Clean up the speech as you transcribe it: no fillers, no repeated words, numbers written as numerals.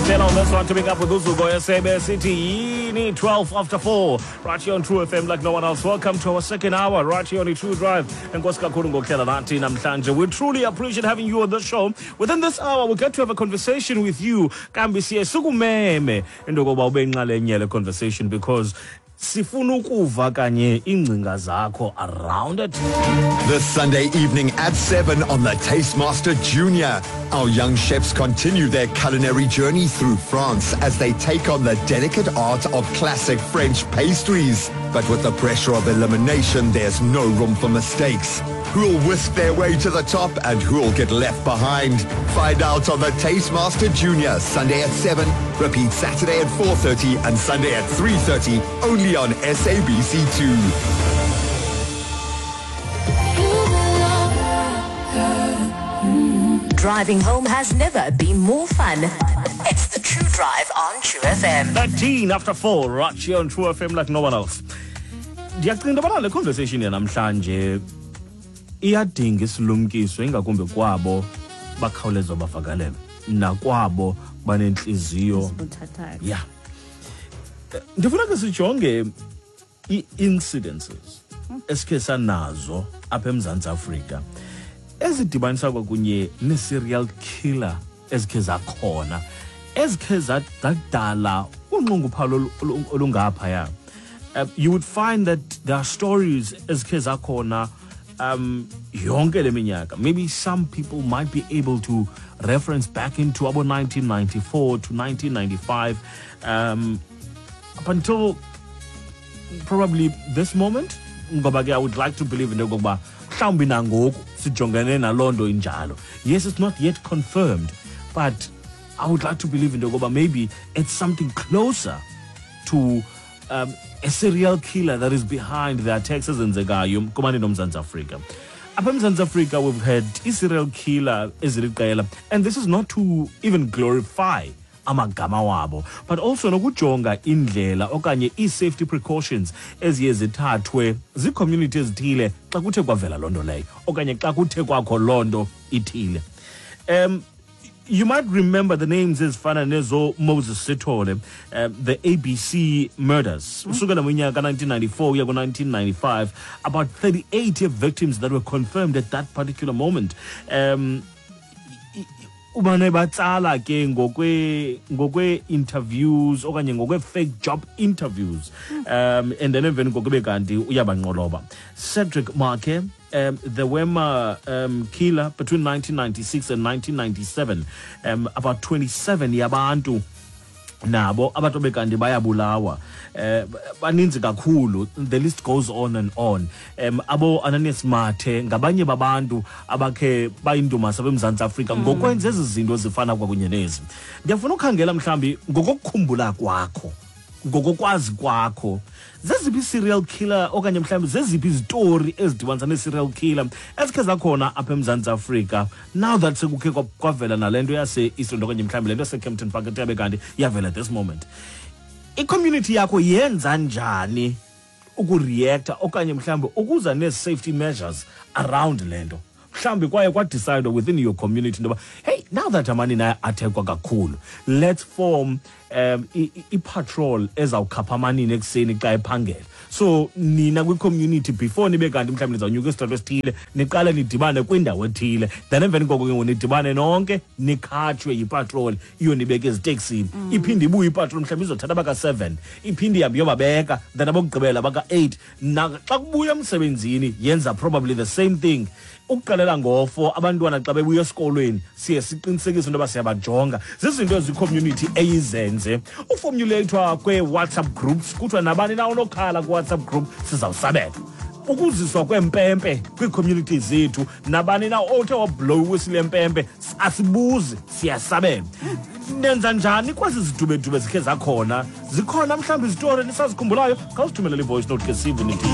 Tela on this one to pick up with Uzuko Yasebe City. Yini 12 after 4. Right here on True FM like no one else. Welcome to our second hour right here on the True Drive. Enkosi kakhulu ngokuhlala nathi namhlanje. We truly appreciate having you on the show. Within this hour, we get to have a conversation with you. Kambi siye sikumeme into yokokuba ube yinxalenye yale conversation because sifuna ukuva kanye iingcinga zakho around it. This Sunday evening at 7 on the Taste Master Junior, our young chefs continue their culinary journey through France as they take on the delicate art of classic French pastries. But with the pressure of elimination, there's no room for mistakes. Who'll whisk their way to the top and who'll get left behind? Find out on the Taste Master Junior, Sunday at 7, repeat Saturday at 4:30 and Sunday at 3:30, only on SABC2. Driving home has never been more fun. It's the True Drive on True FM. 13 after 4, right here on True FM like no one else. Ndiyacinga into yobana le conversation yanamhlanje iyadinga isilumkiso, ingakumbi kwabo bakhawuleza bavakalelwe nakwabo banentliziyo buthathaka. Ya, ndifuna ke sijonge ii-incidences esikhe sanazo apha eMzantsi Afrika ezidibanisa kwakunye nee-serial killer ezikhe zakhona, ezikhe zadala unxunguphalo olungaphaya. You would find that there are stories ezikhe zakhona yonke le minyaka. Maybe some people might be able to reference back into about 1994 to 1995, up until probably this moment, ngoba ke I would like to believe into yokokuba mhlawumbi nangoku sijongene naloo nto injalo. Yes, it's not yet confirmed, but I would like to believe into yokokuba maybe it's something closer to a serial killer that is behind the attacks ezenzekayo kumanini oMzantsi Afrika. Apha eMzantsi Afrika we've had i-serial killer eziliqela, and this is not to even glorify amagama wabo, but also nokujonga indlela okanye ii-safety precautions eziye zithathwe zii-community ezithile xa kuthe kwavela loo nto leyo okanye xa kuthe kwakho loo nto ithile. You might remember the names ezifana nezo Moses Sithole, the ABC murders. Usukela ngonyaka ka-1994 uya ku-1995, about 38 victims that were confirmed at that particular moment. Ubane batsala ke ngokwe interviews okanye ngokwe fake job interviews, and then emveni kokube kanti uyabanqoloba. Cedric Maake, the Wema killer between 1996 and 1997, about 27 yabantu nabo abantu bekanti bayabulawa. Baninzi kakhulu, the list goes on and on. Abo Ananias Mathe ngabanye babantu abakhe bayindumasa beMzantsi Afrika ngokwenza ezi zinto zifana kwakunye nezi. Ndiyafuna ukhangela mhlawumbi ngokokukhumbula kwakho, ngokokwazi kwakho, zeziphi i-serial killer okanye mhlawumbi zeziphi izitori ezidibanisa nee-serial killer ezikhe zakhona apha eMzantsi Afrika, now that sekukhe kwavela nale nto yase-Eastland okanye mhlawumbi le nto yaseKempton Park ethe yabe kanti iyavela at this moment? I-community yakho yenza njani ukureacta okanye mhlawumbi ukuza nee-safety measures around le nto? Mhlawumbi kwaye kwadecide within your community into yoba, hey, now that amanina aya-attackwa kakhulu, let's form i-patrol ezawukhapha amanina ekuseni xa ephangela. So nina kwi-community, before nibe kanti mhlawumbi nizawunyuka isitrato esithile, niqale nidibane kwindawo ethile, then emveni koko ke ngoku nidibane nonke, nikhatshwe yipatrol iyonibeka eziteksini. Iphinde ibuye ipatrol, mhlawumbi izothatha baka-7, iphinde ihambe iyobabeka, then abokugqibela baka-8. Xa kubuya emsebenzini yenza probably the same thing, ukuqalela ngo-4 abantwana xa bebuya esikolweni siye siqinisekise into yoba siyabajonga. Zizinto ezi-community eyizenze. Uformulathwa kwee-WhatsApp groups, kuthiwa nabani na onokhala kwi-WhatsApp group sizawusabela. Ukuziswa kwempempe kwii-community zethu, nabani na othe wablow iwhistle yempempe asibuzi, siyasabela. Nenza njani kwezi zidubedube zikhe zakhona? Zikhona mhlawumbi izitori nisazikhumbulayo? Khawusithumelele i-voice note ke sive nithi.